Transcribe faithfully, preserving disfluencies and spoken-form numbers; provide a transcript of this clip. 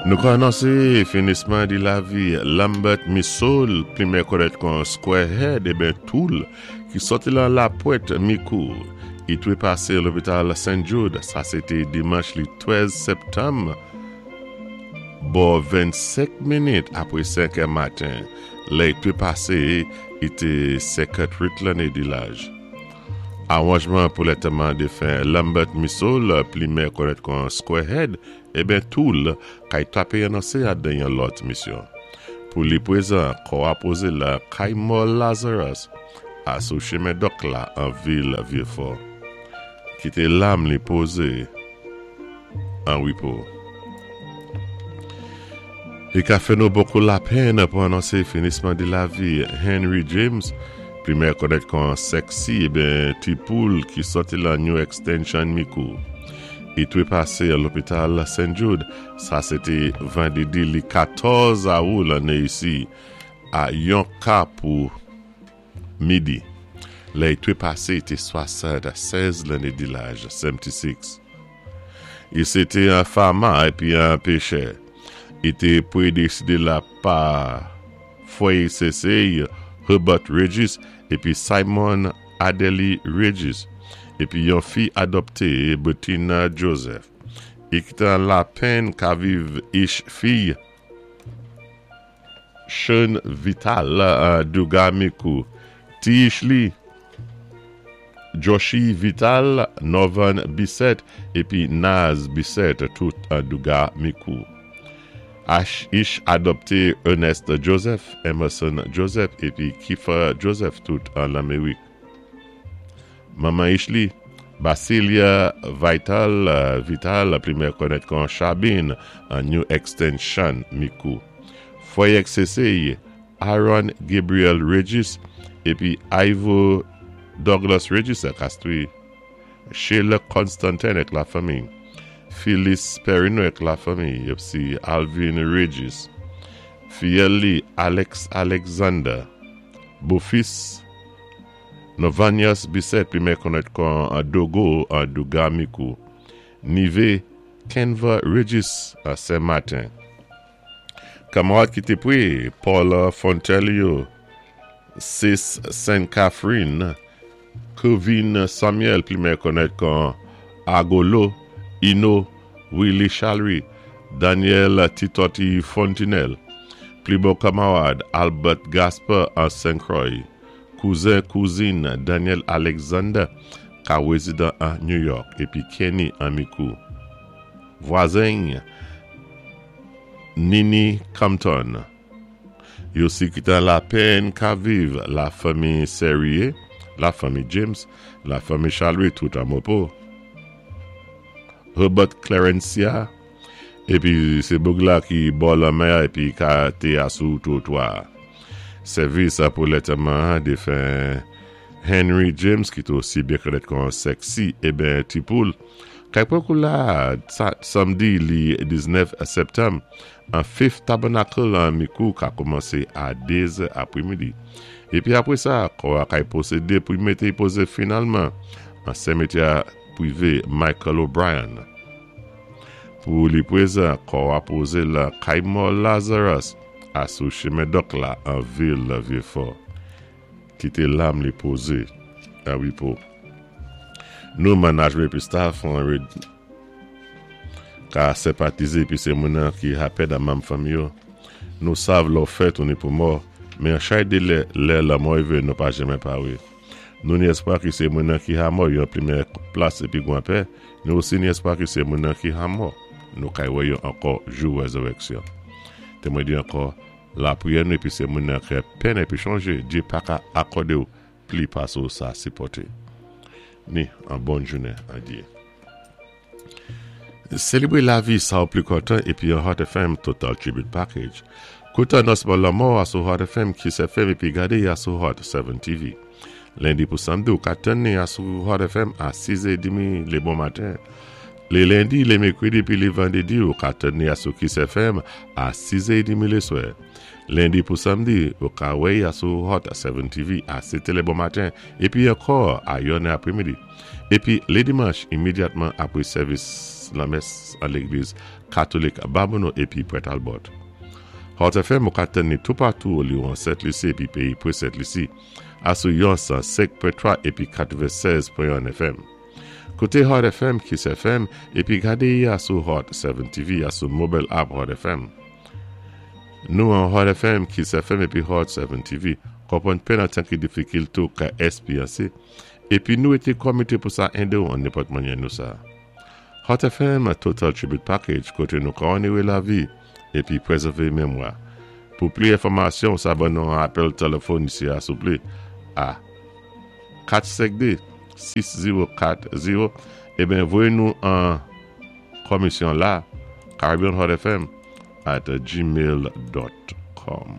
Nou ka anonsé finisman di lavi Lambert Missol, pli konnèt kon Squarehead ében Tool, ki sòti lan Lapwent Mikou. I twé pasé lopital Saint Jude, sa sé té dimanch li trèz septanm, bò vennsenk minit apwé senk è maten. Lè i twé pasé, i té senkantwit lanné di laj. Awanjman pou lantèman défen Lambert Missol, pli konnèt kon Squarehead, ében Tool, kay twapé anonsé adan yon lòt misyon. Pou li pwézan, kò a pozé lan kay mò Lazarus, asou chimen Dòk la an vil Vyéfò. Kité lam li pozé an wépo. I ka fè nou bokou lapenn pou anonsé finisman di lavi Henry James, pli konnèt kon Sexy ében Ti Poul ki sòti lan New Extension Mikou. I twé pasé a lopital Saint Jude, sa sé té vandédi li katòz awou lanné isi, a yon ka pou midi. Lè i twé pasé té swasannsèz lanné di laj, swasannsis. I sé té an fama épi an péchè. I té pwédésédé la pa fwè èk sè Herbert Regis épi Simon Adélie Regis épi yon fi adopté Bettina Joseph. I kitan lapenn ka viv ich fi Sean Vital Duga Mikou. Ti ich li Joshi Vital, Norvan Bisset épi Naz Bisset tout an Duga Mikou. Ash ich adopté Ernest Joseph, Emerson Joseph épi Kiefer Joseph tout an Lamérik. Manman ich li, Basilia Vital, Vital, pli konnèt kon Chabine, an New Extension Mikou. Fwè èk sè Aaron Gabriel Regis épi Ivo Douglas Regis à Castries. Sheila Constantin ak lafanmi. Phyllis Perino ak lafanmi. Épi Alvin Regis. Fiyèl li Alex Alexander. Bofis Novanius Bisset pli konnèt kon Dogo an Duga Mikou. Nivé Kenva Regis à Saint-Martin. Kamarad ki té pwé Paul Fontelio, Sis Saint Catherine, Kevin Samuel, pli konnèt kon Agolo, Ino, Willie Chalry, Daniel Titoti Fontinel, pli bon kamarad Albert Gasper an Saint-Croix, kouzen kouzin Daniel Alexander, ka wézidan an New York, épi Kenny an Mikou. Vwazen Nini Compton. Yo si kitan lapenn ka viv lafanmi Serrier, lafanmi James, lafanmi Chalry tout an Mopo. Herbert Clarencia, épi sé boug la ki bò lanmè épi ka té asou twotwa. Sèvis pou lantèman défen Henry James ki té osi byen konnèt kon Sexy ében Ti Poul. Kay pran kou la samdi li diznèf septanm an Fifth Tabernacle an Mikou ka kòmansé a dé zè apwémidi. Épi apwé sa, kò a kay pwosédé pou mété pozé finalman an simetyè pwivé Michael O'Brien. Pou li pwézan, kò a pozé lan kay mò Lazarus asou chimen Dòk la an vil Vyéfò. Kité lam li pozé an wépo. Nou management épi staff an ka senpatizé épi sé moun ki ha pèd an manm fanmi yo. Nou sav lò fèt ou ni pou mò, men an chay de lè, lè lanmò wivé nou pa janmen pawé. Nou ni espwa ki sé moun ki ha mò yon plimè plas épi gwan pè, nou osi ni espwa ki sé moun ki ha mò. Nou kay wè yo ankò jou wézéwéksyon. Té mwen di ankò, lapriyè nou épi sé moun ki penn épi chonjé, Djé pa ka akòdé ou pli pasé ou sa sipòté. Ni an bòn jounen an Djé. Sélébré lavi sa ou pli kontan épi an Hot F M Total Tribute Package. Kouté anonsman lanmò asou Hot F M, Kiss F M épi gadé asou Hot sèt T V. Lendi pou samdi ou ka tann asou Hot F M a siz è demi lé bon maten. Lé lendi, lé mèkwédi épi lé vandédi ou ka tann asou Kiss F M a siz è demi lé swè. Lendi pou samdi ou ka wè asou Hot sèt T V a sèt lé bon maten épi ankò a yonnè apwémidi. Épi lé dimanch imédyatman apwé sèvis Lanmès an Légliz Katolik Babonneau épi Port Talbot. Hot F M, ou ka tann ni toupatou an Sent Lisi épi péyi pwé Sent Lisi, asou yon san senk pwen twa épi katwennsèz pwen en F M. Kouté Hot F M, Kiss F M, épi gadé asou Hot sèt T V, asou mobile app Hot F M. Nou an Hot F M, Kiss F M épi Hot sèt T V, konpwann penn an tan ki difikil tou ka espéryansé, épi nou été komité pou sa édé ou an nenpòt mannyè nou sa. Hot F M Total Tribute Package, koté nou ka onoré lavi épi pwézèvé mémwa. Pou pli enfòmasyon, sa ban nou an apèl téléfòn isi a souplé a kat senk de, sis zewo kat zewo eben voyé nou an komisyon la Caribbean Hot F M at gmail dot com.